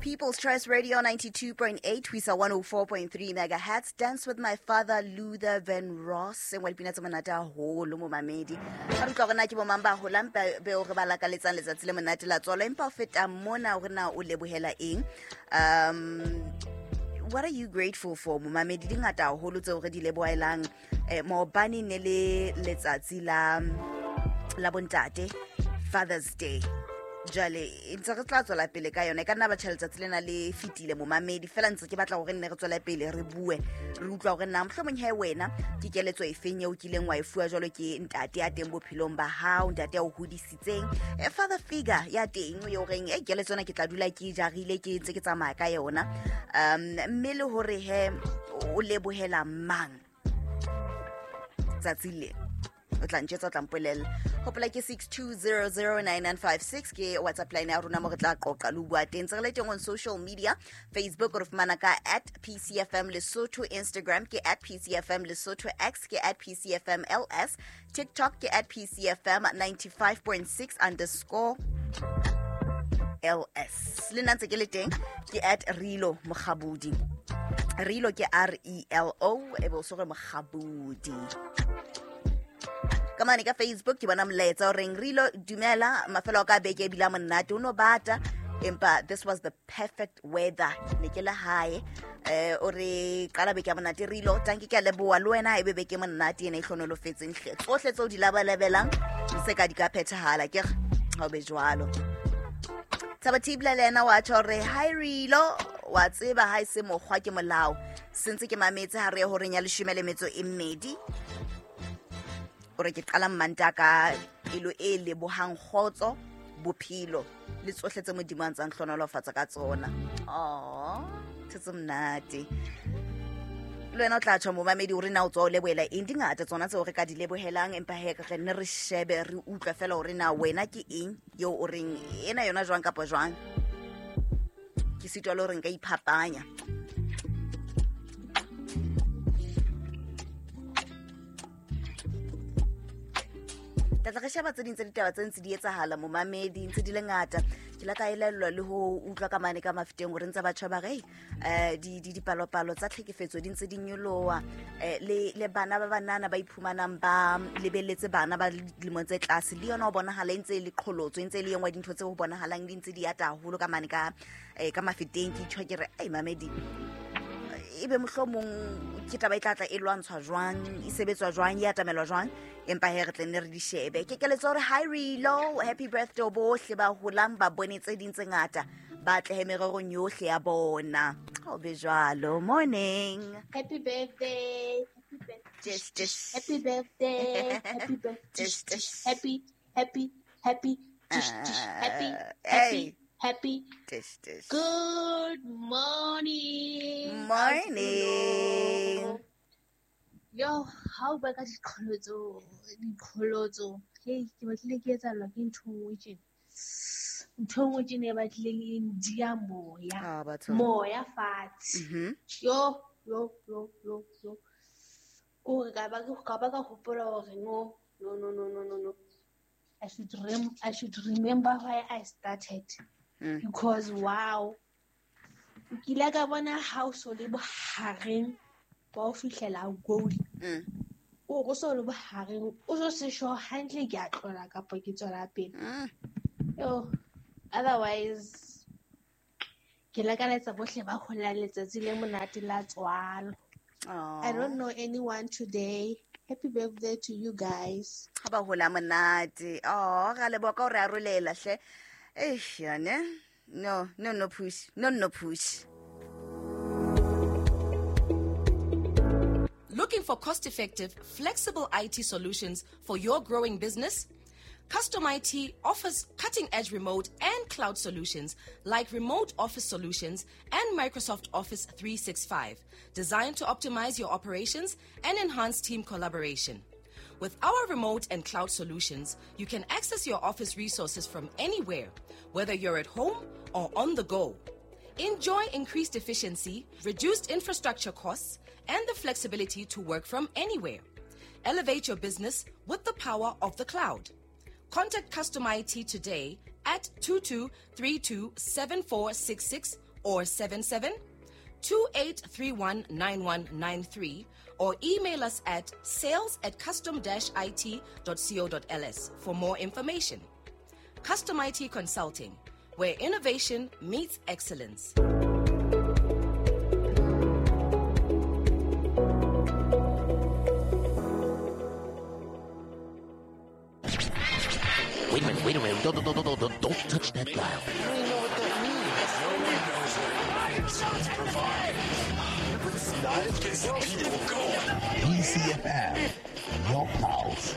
People's Choice Radio 92.8 ho isa 104.3 megahertz. Dance with my father Luther Van Ross. E nngwe ya dipina tse monate haholo momamedi. Ha re utlwa hore na ke bomang ba holang beo re ba lakaletsang letsatsi le monate la tswalo, empa ho feta mona hore na o lebohela eng. What are you grateful for momamedi? Di ngata haholo tseo re di lebohelang. Maobane ne le letsatsi la bontate, Father's Day. Jwale ntse re tla tswela pele ka yona, e ka nna batjha letsatsi lena le fetile momamedi, fela ntse ke batla hore nne re tswele pele re bue, re utlwa hore na mohlomong he wena ke keletso e feng eo kileng wa e fuwa jwalo ke ntate ya teng bophelong ba hao, ntate ya o hodisitseng, father figure ya teng yo reng e keletso ena ke tla dula ke jarile, ke ntse ke tsamaya ka yona. Mme le hore he o lebohela mang tsatsi le, o tla ntjwetsa, o tla mpolella. Hopola ke 62009956 ke WhatsApp line ya rona mo re tla qoqa le ho bua teng. Ntse re le teng on social media, Facebook re fumana ka at PCFM Lesotho, Instagram ke at PCFM Lesotho, X ke at PCFM LS, TikTok ke at PCFM 95.6 underscore LS. Le nna ntse ke le teng ke at Relo Mokgabudi. Relo ke R E L O, e be o so re Mokgabudi. Ka mane ka Facebook ke bona molaetsa o reng Relo dumela, mafelo a ka beke ebile a monate, o no bata empa this was the perfect weather, ne ke le hae. O re qala beke ya monate Relo, tanki ke a leboha le wena, ebe beke monate ena e hlonolofetseng hle, tsohle tseo di labalabelang se ka di ka phethahala, ke re ha o be jwalo. Thabo Thibla le yena wa tjho hore hi Relo, wa tseba ha e se mokgwa ke molao, se ntse ke mametse ha re ye horeng ya 12. O re ke qala mmanta ka pelo e lebohang kgotso, bophelo le tsohle tse Modimo a ntsang hlonolofatsa ka tsona. Oh, tse monate. Le wena o tla tjho momamedi hore na o tswa o lebohela eng, di ngata tsona tseo re ka di lebohelang, empa he re nne re shebe re utlwe fela hore na wena ke eng eo o reng ena yona jwang kapa jwang. Ke sitwa le hore nka iphapanya. Tla tla re sheba tse ding tsa ditaba tse ntse di etsahala momamedi, ntse di le ngata. Ke la ka elellwa le ho utlwa ka mane ka mafeteng hore ntse batjha ba re, dipalopalo tsa tlhekefetso di ntse di nyoloha, le bana ba banana ba iphumanang ba lebelletse bana ba dilemong tse tlase, le yona ho bonahala e ntse e le qholotso, e ntse e le e nngwe ya dintho tse ho bonahalang di ntse di ata haholo ka mane ka mafeteng. Ke itjho ke re, ai mamedi, ebe mohlomong ke taba e tla tla e lwantshwa jwang, e sebetswa jwang, e atamelwa jwang, empa he re tle nne re di shebe. Ke keletso hore hi Relo, happy birthday bohle ba holang ba bone tse ding tse ngata, ba atlehe mererong yohle ya bona. Ha o be jwalo. Morning. Happy birthday. Happy birthday. Dish, dish. Happy birthday. Happy birthday. Dish, dish. Happy, happy, happy. Dish, dish. Happy, happy, Hey. happy. Dish, dish. Good morning. Morning. Yo, how ba ka diqholotso, diqholotso. Hey, ke batlile ke etsahallwa ke ntho e nngwe tjena. Ntho e nngwe tjena e batlileng e ndia moya. Ah, batho. Moya fatshe. Yo, yo, yo, yo, yo. Ke hore ka ba ka hopola hore no, no, no, no, no, no, no. I should remember why I started. Because wow. Ke ile ka bona ha o so le bohareng ba ho fihlela goal. O re o so le bohareng, o so se sure hantle ke a tlola kapa ke tswela pele. Yo, otherwise ke lakaletsa bohle ba holang letsatsi le monate la tswalo. I don't know anyone today. Happy birthday to you guys. Ha ba hola monate. Oh, ra leboha ka hore arolela hle. Eish, yane. No, no, no push. No, no push. Looking for cost-effective, flexible IT solutions for your growing business? Custom IT offers cutting-edge remote and cloud solutions like remote office solutions and Microsoft Office 365, designed to optimize your operations and enhance team collaboration. With our remote and cloud solutions, you can access your office resources from anywhere, whether you're at home or on the go. Enjoy increased efficiency, reduced infrastructure costs, and the flexibility to work from anywhere. Elevate your business with the power of the cloud. Contact Custom IT today at 22327466 or 77 28319193 or email us at sales@custom-it.co.ls for more information. Custom IT Consulting, where innovation meets excellence. Wait a minute, wait a minute. Don't touch that dial. I don't even know what that means. No one knows what it means. Provide. Gets the people going. PCFM, your pulse.